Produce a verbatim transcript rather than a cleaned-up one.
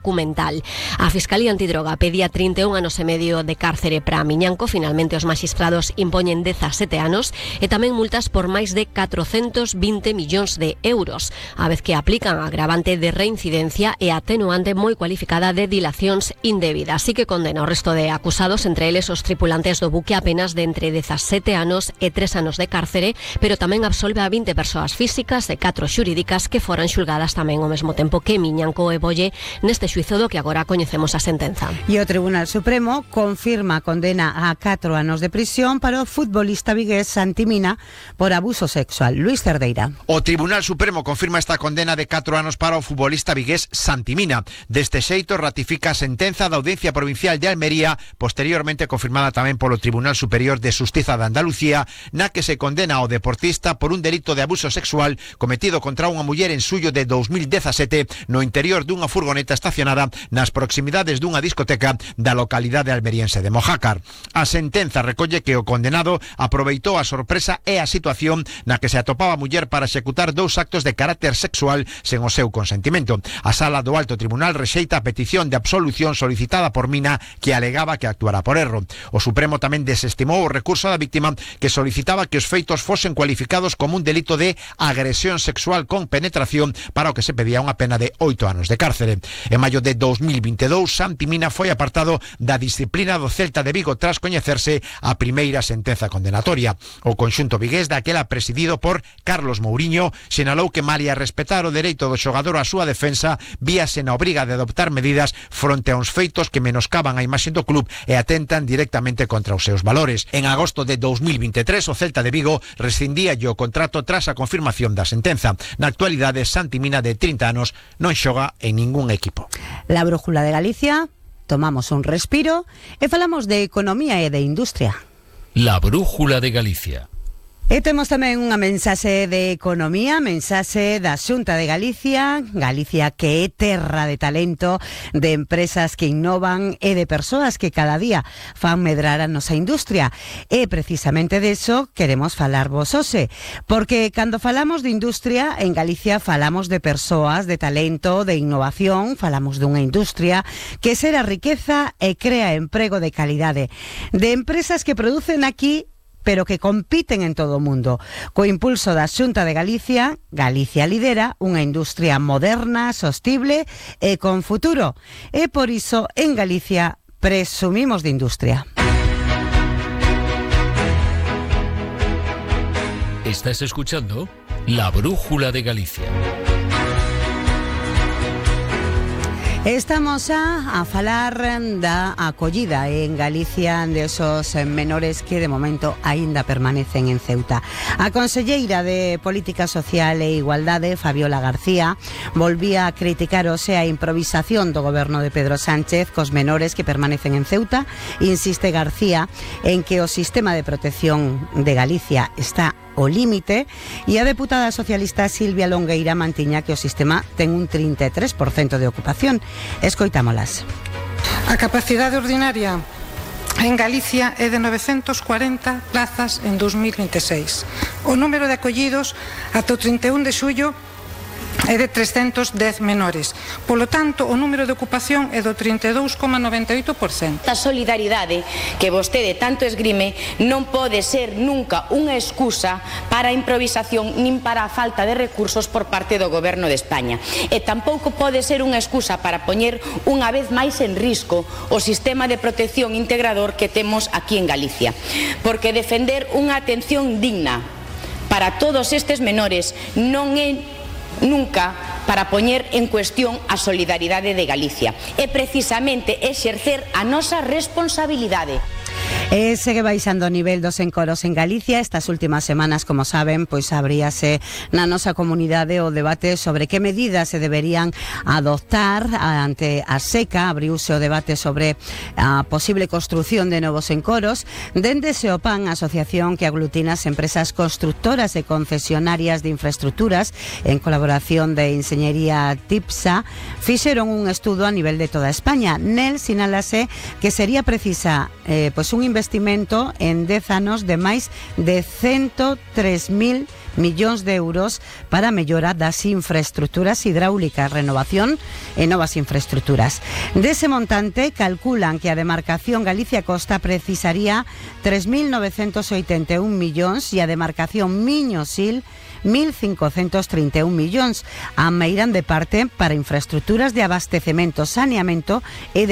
documental. A Fiscalía Antidroga pedía trinta e un anos e medio de cárcere para Miñanco. Finalmente os maxistrados impoñen dezasete anos e tamén multas por máis de catrocentos vinte millóns de euros, a vez que aplican a agravante de reincidencia e atenuante moi cualificada de dilacións indebidas. Así que condena o resto de acusados, entre eles os tripulantes do buque, a penas de entre dezasete anos e tres anos de cárcere, pero tamén absolve a vinte persoas físicas e catro xurídicas que foran xulgadas tamén ao mesmo tempo que Miñanco e Bolle neste xuízo do que agora coñecemos a sentenza. E o Tribunal Supremo confirma a condena a catro anos de prisión para o futbolista vigués Santi Mina por abuso sexual. Luis Cerdeira. O Tribunal Supremo confirma esta condena de catro anos para o futbolista vigués Santi Mina. Deste xeito ratifica a sentenza da Audiencia Provincial de Almería, posteriormente confirmada tamén polo Tribunal Superior de Xustiza de Andalucía, na que se condena ao deportista por un delito de abuso sexual cometido contra unha muller en suyo de dous mil dezasete no interior dunha furgoneta estacionada nas proximidades dunha discoteca da localidade almeriense de Mojácar. A sentenza recolle que o condenado aproveitou a sorpresa e a situación na que se atopaba a muller para executar dous actos de carácter sexual sen o seu consentimento. A Sala do Alto Tribunal rexeita a petición de absolución solicitada por Mina, que alegaba que actuara por erro. O Supremo tamén desestimou o recurso da víctima, que solicitaba que os feitos fosen cualificados como un delito de agresión sexual con penetración, para o que se pedía unha pena de oito anos de cárcere. En maio de dous mil vinte e dous, Santi Mina foi apartado da disciplina do Celta de Vigo tras coñecerse a primeira sentenza condenatoria. O conxunto vigués, daquela presidido por Carlos Mouriño, sinalou que malia respetar o dereito do xogador á súa defensa, víase na obriga de adoptar medidas fronte a uns feitos que menoscaban a imaxe do club e atentan directamente contra os seus valores. En agosto de dous mil vinte e tres, o Celta de Vigo rescindía o contrato tras a confirmación da sentenza. Na actualidade, Santi Mina, de trinta anos, non xoga en ningún equipo. La Brújula de Galicia, tomamos un respiro e falamos de economía e de industria. La Brújula de Galicia. E temos tamén unha mensaxe de economía, mensaxe da Xunta de Galicia, Galicia que é terra de talento, de empresas que innovan e de persoas que cada día fan medrar a nosa industria. E precisamente deso queremos falarvos hoxe, porque cando falamos de industria en Galicia falamos de persoas, de talento, de innovación, falamos dunha industria que xera riqueza e crea emprego de calidade, de empresas que producen aquí pero que compiten en todo o mundo. Co impulso da Xunta de Galicia, Galicia lidera unha industria moderna, sostible e con futuro. E por iso, en Galicia, presumimos de industria. Estás escuchando La Brújula de Galicia. Estamos a, a falar da acollida en Galicia de esos menores que de momento aínda permanecen en Ceuta. A conselleira de Política Social e Igualdade, Fabiola García, volvía a criticar hoxe a improvisación do goberno de Pedro Sánchez cos menores que permanecen en Ceuta. Insiste García en que o sistema de protección de Galicia está o límite e a deputada socialista Silvia Longueira mantiña que o sistema ten un trinta e tres por cento de ocupación. Escoitámolas. A capacidade ordinaria en Galicia é de novecentos cuarenta plazas en dous mil vinte e seis. O número de acollidos ata o trinta e un de xullo é de trescentos dez menores. Polo tanto, o número de ocupación é do trinta e dous coma noventa e oito por cento. A solidaridade que vostede tanto esgrime non pode ser nunca unha excusa para a improvisación nin para a falta de recursos por parte do Goberno de España. E tampouco pode ser unha excusa para poñer unha vez máis en risco o sistema de protección integrador que temos aquí en Galicia. Porque defender unha atención digna para todos estes menores non é nunca para poñer en cuestión a solidaridade de Galicia. É precisamente exercer a nosa responsabilidade. E segue baixando o nivel dos encoros en Galicia. Estas últimas semanas, como saben, pois abríase na nosa comunidade o debate sobre que medidas se deberían adoptar ante a seca. Abriuse o debate sobre a posible construción de novos encoros. Dende Seopan, a asociación que aglutina as empresas constructoras e concesionarias de infraestructuras, en colaboración de Enxeñería TIPSA, fixeron un estudo a nivel de toda España. Nel sinálase que sería precisa eh, pois un investigación investimento en dez anos de máis de ciento tres mil millóns de euros para a mellora das infraestructuras hidráulicas, renovación e novas infraestructuras. Dese montante, calculan que a demarcación Galicia Costa precisaría tres mil novecentos oitenta e un millóns e a demarcación Miño-Sil mil cincocentos trinta e un millóns. A meiran de parte para infraestructuras de abastecemento, saneamento e de